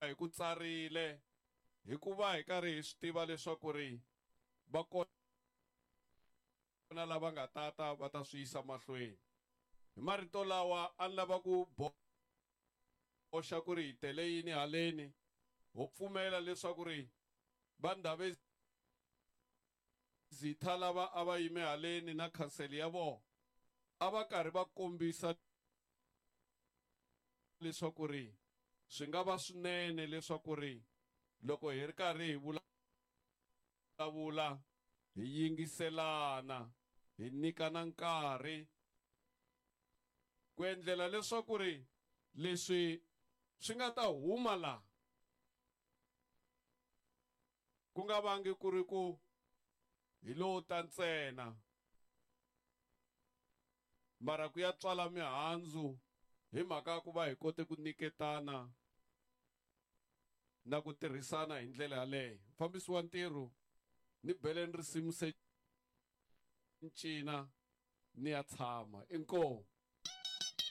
Hi ku tsarile hikuva hi karhi hi swi tiva leswaku ri va kona lava nga tata va ta swi yisa mahlweni. Hi marito lawa a ni lava ku boxa ku ri hi tele yini haleni, ho pfumela leswaku ri va Ndhavezitha lava a va yime haleni na khansele ya vona a va karhi va kombisa leswaku ri swi nga va swinene leswaku ri loko hi ri karhi hi vulavula hi yingiselana hi nyikana nkarhi ku endlela leswaku ri leswi swi nga ta huma laha ku nga vangi ku ri ku hi lowo ta ntsena mara ku ya tswala mihandzu hi mhaka ya ku va hi kote ku nyiketana na ku tirhisana hi ndlela yaleyo. Mufambisi wa ntirho ni beleni risimu se ncina ni ya tshama. Inkomu.